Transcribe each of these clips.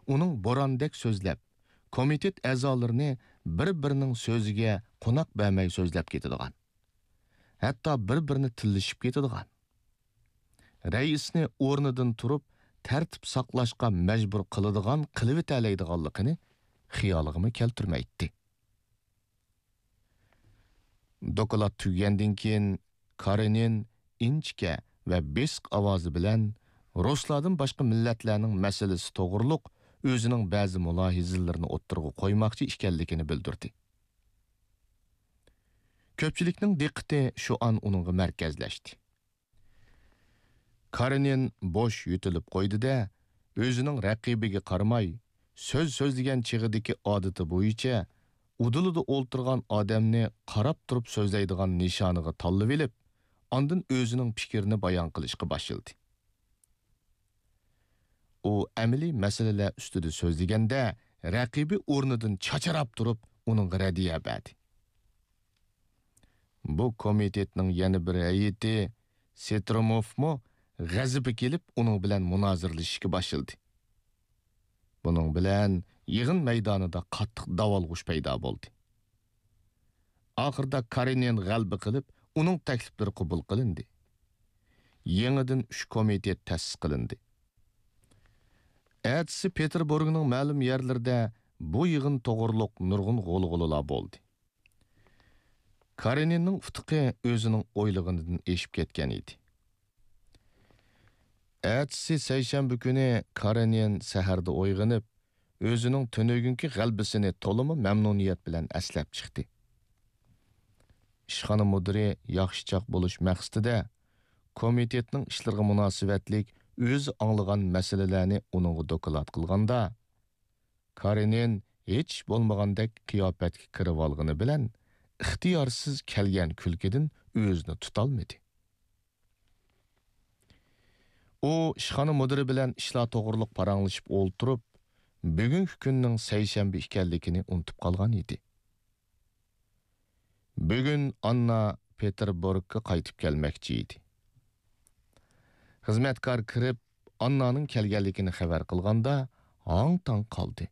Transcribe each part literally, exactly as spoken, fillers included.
ئۇنىڭ بوراندەك سۆزلەپ، كومىتېت ئەزالىرىنى بىر-بىرىنىڭ سۆزىگە قوناق بەرمەي سۆزلەپ كېتىدىغان، ھەتتا بىر-بىرىنى تىللىشىپ كېتىدىغان، رەئىسنى ئورنىدىن تۇرۇپ تەرتىپ ساقلاشقا مەجبۇر قىلىدىغان قىلىۋېتەلەيدىغانلىقىنى خىيالىغىمۇ كەلتۈرمەيتتى. دوكلات تۈگىگەندىن كېيىن، كارېنىن ئىنچىكە ۋە بېسىق ئاۋازى بىلەن رۇسلاردىن باشقا مىللەتلەرنىڭ مەسىلىسى توغرۇلۇق ئۆزىنىڭ بەزى مۇلاھىزىلىرىنى ئوتتۇرىغا قويماقچى ئىكەنلىكىنى بىلدۈردى. كۆپچىلىكنىڭ دىققىتى شۇ ئان ئۇنىڭغا مەركەزلەشتى. كارېنىن بوش يۆتىلىپ قويدى-دە، ئۆزىنىڭ رەقىبىگە قارىماي، سۆز سۆزلىگەن چېغىدىكى ئادىتى بويىچە ئۇدۇلىدا ئولتۇرغان ئادەمنى قاراپ تۇرۇپ سۆزلەيدىغان نىشانىغا تاللىۋېلىپ، ئاندىن ئۆزىنىڭ پىكرىنى بايان قىلىشقا باشلىدى. ئۇ ئەمەلىي مەسىلىلەر ئۈستىدە سۆزلىگەندە، رەقىبى ئورنىدىن چاچراپ تۇرۇپ، ئۇنىڭغا رەددىيە بەردى. بۇ كومىتېتنىڭ يەنە بىر ھەيئىتى سېتروموفمۇ غەزىپى كېلىپ، ئۇنىڭ بىلەن مۇنازىرىلىشىشكە باشلىدى. بۇنىڭ بىلەن يىغىن مەيدانىدا قاتتىق داۋالغۇش پەيدا بولدى. ئاخىرىدا كارېنىن غەلىبە قىلىپ، ئۇنىڭ تەكلىپلىرى قوبۇل قىلىندى. يېڭىدىن ئۈچ كومىتېت تەسىس قىلىندى. ئەتىسى پېتېربۇرگنىڭ مەلۇم يەرلىرىدە بۇ يىغىن توغرۇلۇق نۇرغۇن غۇلغۇلىلار بولدى. كارېنىننىڭ ئۇتۇقى ئۆزىنىڭ ئويلىغىنىدىن ئېشىپ كەتكەن ئىدى. ئەتىسى سەيشەنبە كۈنى كارېنىن سەھەردە ئويغىنىپ، ئۆزىنىڭ تۈنۈگۈنكى غەلىبىسىنى تولىمۇ مەمنۇنىيەت بىلەن ئەسلەپ چىقتى. ئىشخانا مۇدىرى ياخشىچاق بولۇش مەقسىتىدە، كومىتېتنىڭ ئىشلىرىغا مۇناسىۋەتلىك ئۆزى ئاڭلىغان مەسىلىلەرنى ئۇنىڭغا دوكلات قىلغاندا، كارېنىن ھېچ بولمىغاندەك قىياپەتكە كىرىۋالغىنى بىلەن، ئىختىيارسىز كەلگەن كۈلكىدىن ئۆزىنى تۇتالمىدى. ئۇ ئىشخانا مۇدىرى بىلەن ئىشلار توغرۇلۇق پاراڭلىشىپ ئولتۇرۇپ، بۈگۈنكى كۈننىڭ سەيشەنبە ئىكەنلىكىنى ئۇنتۇپ قالغان ئىدى. بۈگۈن ئاننا پېتېربۇرگقا قايتىپ كەلمەكچى ئىدى. خىزمەتكار كىرىپ، ئاننانىڭ كەلگەنلىكىنى خەۋەر قىلغاندا، ھاڭ-تاڭ قالدى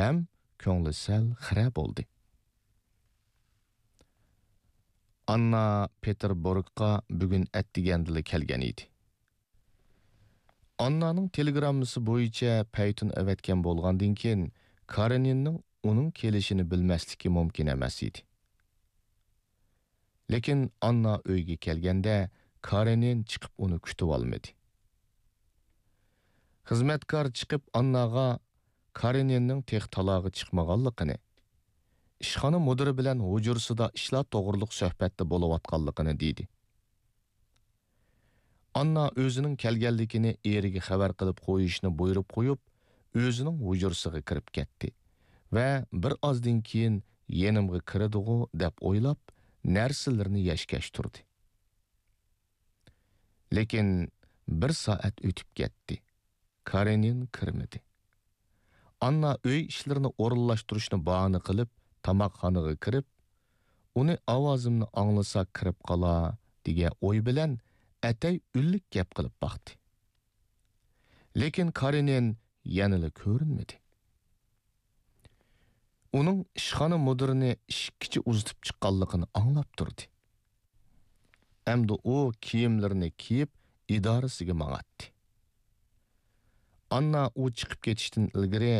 ھەم كۆڭلى سەل خىرە بولدى. ئاننا پېتېربۇرگقا بۈگۈن ئەتىگەندىلا كەلگەن ئىدى. ئاننانىڭ تېلېگراممىسى بويىچە پەيتۇن ئەۋەتكەن بولغاندىن كېيىن، كارېنىننىڭ ئۇنىڭ كېلىشىنى بىلمەسلىكى مۇمكىن ئەمەس ئىدى. لېكىن ئاننا ئۆيگە كەلگەندە، كارېنىن چىقىپ ئۇنى كۈتۈۋالمىدى. خىزمەتكار چىقىپ ئانناغا كارېنىننىڭ تېخى تالاغا چىقمىغانلىقىنى، ئىشخانا مۇدىرى بىلەن ھۇجرىسىدا ئىشلار توغرۇلۇق سۆھبەتتە بولۇۋاتقانلىقىنى دېدى. ئاننا ئۆزىنىڭ كەلگەنلىكىنى ئېرىگە خەۋەر قىلىپ قويۇشنى بۇيرۇپ قويۇپ، ئۆزىنىڭ ھۇجرىسىغا كىرىپ كەتتى ۋە بىر ئازدىن كېيىن يېنىمغا كىرىدىغۇ دەپ ئويلاپ، نەرسىلىرىنى يەشكەش تۇردى. لېكىن بىر سائەت ئۆتۈپ كەتتى. كارېنىن كىرمىدى. ئاننا ئۆي ئىشلىرىنى ئورۇنلاشتۇرۇشنى باھانە قىلىپ، تاماقخانىغا كىرىپ، ئۇنى ئاۋازىمنى ئاڭلىسا كىرىپ قالار، دېگەن ئوي بىلەن ئەتەي ئۈنلۈك گەپ قىلىپ باقتى. لېكىن كارېنىن يەنىلا كۆرۈنمىدى. ئۇنىڭ ئىشخانا مۇدىرىنى ئىشىككىچە ئۇزىتىپ چىققانلىقىنى ئاڭلاپ تۇردى. ئەمدى ئۇ كىيىملىرىنى كىيىپ، ئىدارىسىگە ماڭاتتى. ئاننا ئۇ چىقىپ كېتىشتىن ئىلگىرى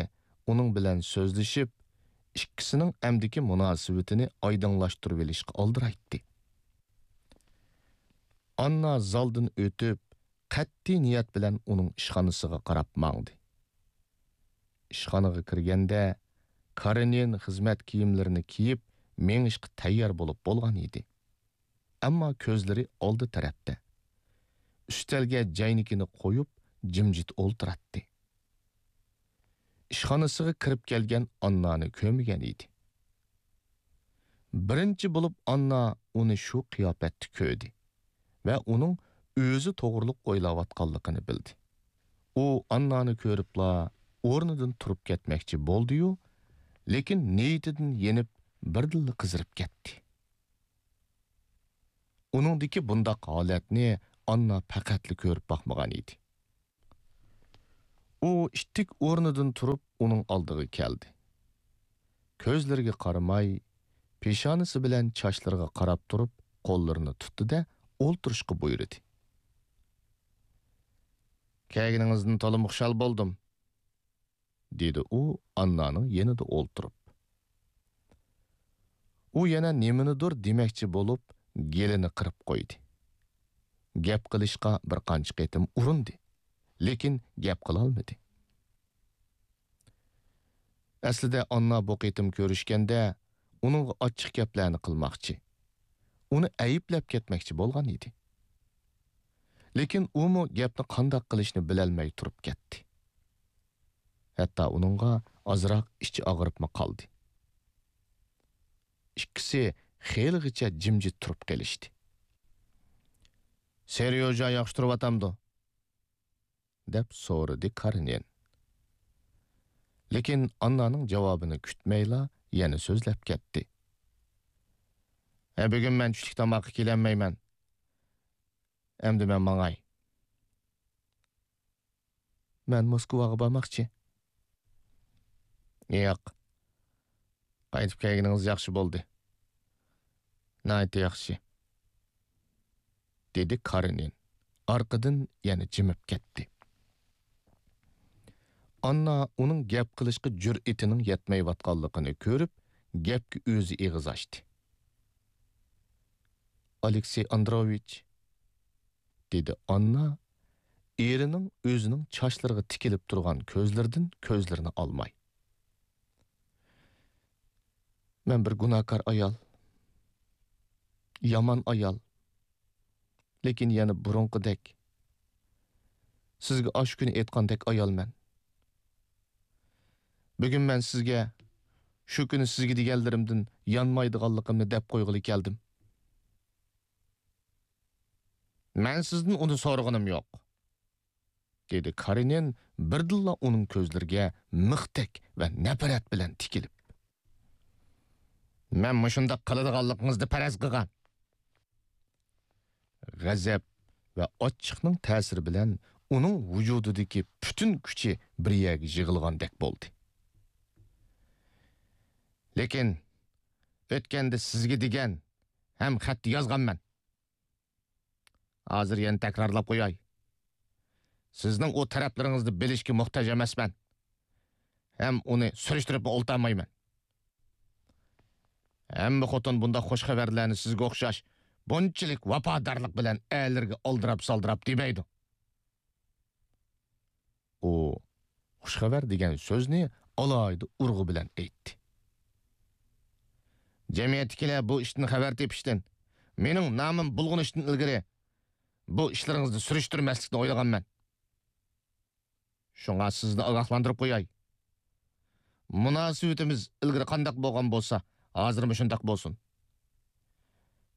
ئۇنىڭ بىلەن سۆزلىشىپ، ئىككىسىنىڭ ئەمدىكى مۇناسىۋىتىنى ئايدىڭلاشتۇرۇۋېلىشقا ئالدىرايتتى. ئاننا زالدىن ئۆتۈپ، قەتئىي نىيەت بىلەن ئۇنىڭ ئىشخانىسىغا قاراپ ماڭدى. ئىشخانىغا كىرگەندە، كارېنىن خىزمەت كىيىملىرىنى كىيىپ، مېڭىشقا تەييار بولۇپ بولغان ئىدى. ئەمما كۆزلىرى ئالدى تەرەپتە. ئۈستەلگە جەينىكىنى قويۇپ، جىمجىت ئولتۇراتتى. ئىشخانىسىغا كىرىپ كەلگەن ئاننانى كۆرمىگەن ئىدى. بىرىنچى بولۇپ ئاننا ئۇنى شۇ قىياپەتتە كۆردى ۋە ئۇنىڭ ئۆزى توغرۇلۇق ئويلاۋاتقانلىقىنى بىلدى. ئۇ ئاننانى كۆرۈپلا ئورنىدىن تۇرۇپ كەتمەكچى بولدى-يۇ، لېكىن نىيىتىدىن يېنىپ، بىردىنلا قىزىرىپ كەتتى. ئۇنىڭدىكى بۇنداق ھالەتنى ئاننا پەقەتلا كۆرۈپ باقمىغان ئىدى. ئۇ ئىتتىك ئورنىدىن تۇرۇپ ئۇنىڭ ئالدىغا كەلدى. كۆزلىرىگە قارىماي، پېشانىسى بىلەن چاچلىرىغا قاراپ تۇرۇپ قوللىرىنى تۇتتى-دە، ئولتۇرۇشقا بۇيرۇدى. «كەلگىنىڭىزدىن تولىمۇ خۇشال بولدۇم.» دېدى ئۇ ئاننانىڭ يېنىدا ئولتۇرۇپ. ئۇ يەنە نېمىنىدۇر دېمەكچى بولۇپ، گېلىنى قىرىپ قويدى. گەپ قىلىشقا بىر قانچە قېتىم ئۇرۇندى، لېكىن گەپ قىلالمىدى. ئەسلىدە ئاننا بۇ قېتىم كۆرۈشكەندە ئۇنىڭغا ئاچچىق گەپلەرنى قىلماقچى، ئۇنى ئەيىبلەپ كەتمەكچى بولغان ئىدى. لېكىن ئۇمۇ گەپنى قانداق قىلىشنى بىلەلمەي تۇرۇپ كەتتى. ھەتتا ئۇنىڭغا ئازراق ئىچى ئاغرىپمۇ قالدى. ئىككىسى خېلىغىچە جىمجىت تۇرۇپ قېلىشتى. «سېريوژا ياخشى تۇرۇۋاتامدۇ؟» دەپ سورىدى كارېنىن. لېكىن ئاننانىڭ جاۋابىنى كۈتمەيلا يەنە سۆزلەپ كەتتى. «ھە، بۈگۈن مەن چۈشلۈك تاماققا كېلەلمەيمەن. ئەمدى مەن ماڭاي.» «مەن موسكۋاغا بارماقچى.» «ياق، قايتىپ كەلگىنىڭىز ياخشى بولدى. ناھايىتى ياخشى.» دېدى كارېنىن. ئارقىدىن يەنە جىمىپ كەتتى. ئاننا ئۇنىڭ گەپ قىلىشقا جۈرئىتىنىڭ يەتمەيۋاتقانلىقىنى كۆرۈپ، گەپكە ئۆزى ئېغىز ئاچتى. «ئالېكسېي ئاندروۋىچ»، دېدى ئاننا ئېرىنىڭ ئۆزىنىڭ چاچلىرىغا تىكىلىپ تۇرغان كۆزلىرىدىن كۆزلىرىنى ئالماي. «مەن بىر گۇناھكار ئايال، يامان ئايال، لېكىن يەنە بۇرۇنقىدەك، سىزگە ئاشۇ كۈنى ئېيتقاندەك ئايالمەن. بۈگۈن مەن سىزگە شۇ كۈنى سىزگە دېگەنلىرىمدىن يانمايدىغانلىقىمنى دەپ قويغىلى كەلدىم.» «مەن سىزدىن ئۇنى سورىغىنىم يوق.» دېدى كارېنىن بىردىنلا ئۇنىڭ كۆزلىرىگە مىختەك ۋە نەپرەت بىلەن تىكىلىپ. «مەن مۇشۇنداق قىلىدىغانلىقىڭىزنى پەرەز قىلغان.» غەزەپ ۋە ئاچچىقنىڭ تەسىرى بىلەن ئۇنىڭ ۋۇجۇدىدىكى پۈتۈن كۈچى بىر يەرگە يىغىلغاندەك بولدى. «لېكىن ئۆتكەندە سىزگە دېگەن ھەم خەت يازغانمەن. ھازىر يەنە تەكرارلاپ قوياي. سىزنىڭ ئۇ تەرەپلىرىڭىزنى بىلىشكە موھتاج ئەمەسمەن. ھەم ئۇنى سۈرۈشتۈرۈپمۇ ئولتۇرمايمەن. ھەممە خوتۇن بۇنداق خۇش خەۋەرلەرنى سىزگە ئوخشاش بۇنچىلىك ۋاپادارلىق بىلەن ئەرلىرىگە ئالدىراپ-سالدىراپ دېمەيدۇ.» ئۇ خۇش خەۋەر دېگەن سۆزنى ئالاھىدە ئۇرغۇ بىلەن ئېيتتى. «جەمئىيەتتىكىلەر بۇ ئىشتىن خەۋەر تېپىشتىن، مېنىڭ نامىم بۇلغىنىشتىن ئىلگىرى بۇ ئىشلىرىڭىزنى سۈرۈشتۈرمەسلىكنى ئويلىغانمەن. شۇڭا سىزنى ئاگاھلاندۇرۇپ قوياي. مۇناسىۋىتىمىز ئىلگىرى قانداق بولغان بولسا، ھازىرمۇ شۇنداق بولسۇن.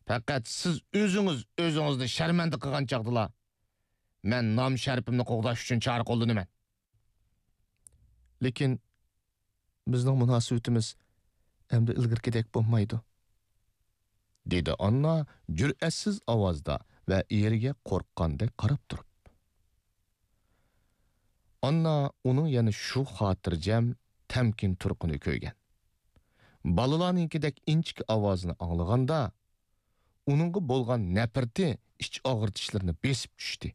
پەقەت سىز ئۆزىڭىز ئۆزىڭىزنى شەرمەندە قىلغان چاغدىلا، مەن نام-شەرىپىمنى قوغداش ئۈچۈن چارە قوللىنىمەن.» «لېكىن بىزنىڭ مۇناسىۋىتىمىز ئەمدى ئىلگىرىكىدەك بولمايدۇ.» دېدى ئاننا جۈرئەتسىز ئاۋازدا ۋە ئېرىگە قورققاندەك قاراپ تۇرۇپ. ئاننا ئۇنىڭ يەنە شۇ خاتىرجەم، تەمكىن تۇرقىنى كۆرگەن. بالىلارنىڭكىدەك ئىنچىكە ئاۋازىنى ئاڭلىغاندا، ئۇنىڭغا بولغان نەپرىتى ئىچ ئاغرىتىشلىرىنى بېسىپ چۈشتى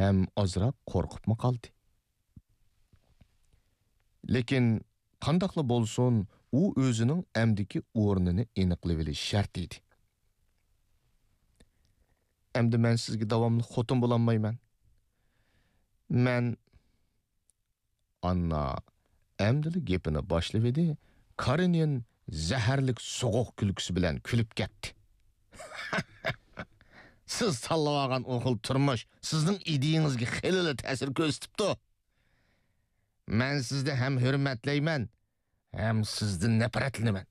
ھەم ئازراق قورقۇپمۇ قالدى. لېكىن قانداقلا بولسۇن، ئۇ ئۆزىنىڭ ئەمدىكى ئورنىنى ئېنىقلىۋېلىشى شەرت ئىدى. ئەمدى مەن سىزگە داۋاملىق خوتۇن بولالمايمەن. مەن ئاننا ئەمدىلا گېپىنى باشلىۋىدى، كارېنىن زەھەرلىك سوغۇق كۈلكىسى بىلەن كۈلۈپ كەتتى. سىز تاللىۋالغان ئۇ خىل تۇرمۇش سىزنىڭ ئىدىيىڭىزگە خېلىلا تەسىر كۆرسىتىپتۇ. مەن سىزنى ھەم ھۆرمەتلەيمەن، ھەم سىزدىن نەپرەتلىنىمەن.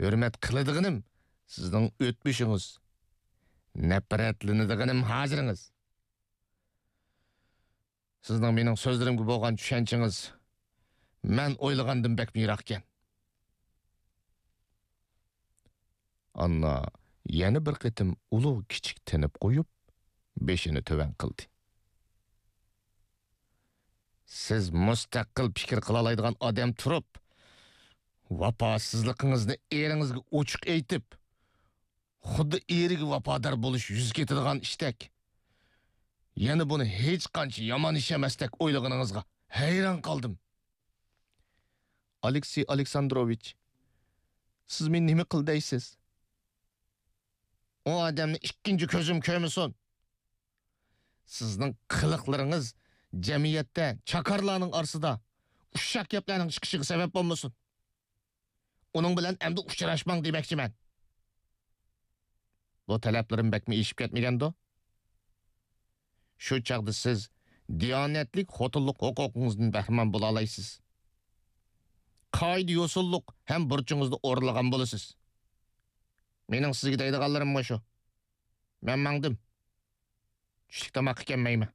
ھۆرمەت قىلىدىغىنىم سىزنىڭ ئۆتمۈشىڭىز، نەپرەتلىنىدىغىنىم ھازىرىڭىز. سىزنىڭ مېنىڭ سۆزلىرىمگە بولغان چۈشەنچىڭىز مەن ئويلىغاندىن بەكمۇ يىراقكەن. ئاننا يەنە بىر قېتىم ئۇلۇغ كىچىك تىنىپ قويۇپ، بېشىنى تۆۋەن قىلدى. سىز مۇستەقىل پىكىر قىلالايدىغان ئادەم تۇرۇپ، ۋاپاسىزلىقىڭىزنى ئېرىڭىزگە ئوچۇق ئېيتىپ، خۇددى ئېرىگە ۋاپادار بولۇش يۈز كېتىدىغان ئىشتەك، يەنە بۇنى ھېچقانچە يامان ئىش ئەمەستەك ئويلىغىنىڭىزغا ھەيران قالدىم. ئالېكسېي ئالېكساندروۋىچ، سىز مېنى نېمە قىل دەيسىز؟ ئۇ ئادەمنى ئىككىنچى كۆزۈم كۆرمىسۇن. سىزنىڭ قىلىقلىرىڭىز جەمئىيەتتە چاكارلارنىڭ ئارىسىدا ئۇششاق گەپلەرنىڭ چىقىشىغا سەۋەب بولمىسۇن. ئۇنىڭ بىلەن ئەمدى ئۇچراشماڭ دېمەكچىمەن. بۇ تەلەپلىرىم بەكمۇ ئېشىپ كەتمىگەندۇ؟ شۇ چاغدا سىز دىيانەتلىك خوتۇنلۇق ھوقۇقىڭىزدىن بەھرىمەن بولالايسىز. قائىدە-يوسۇنلۇق ھەم بۇرچىڭىزنى ئورۇنلىغان بولىسىز. مېنىڭ سىزگە دەيدىغانلىرىم مۇشۇ. مەن ماڭدىم. چۈشلۈك تاماققا كەلمەيمەن.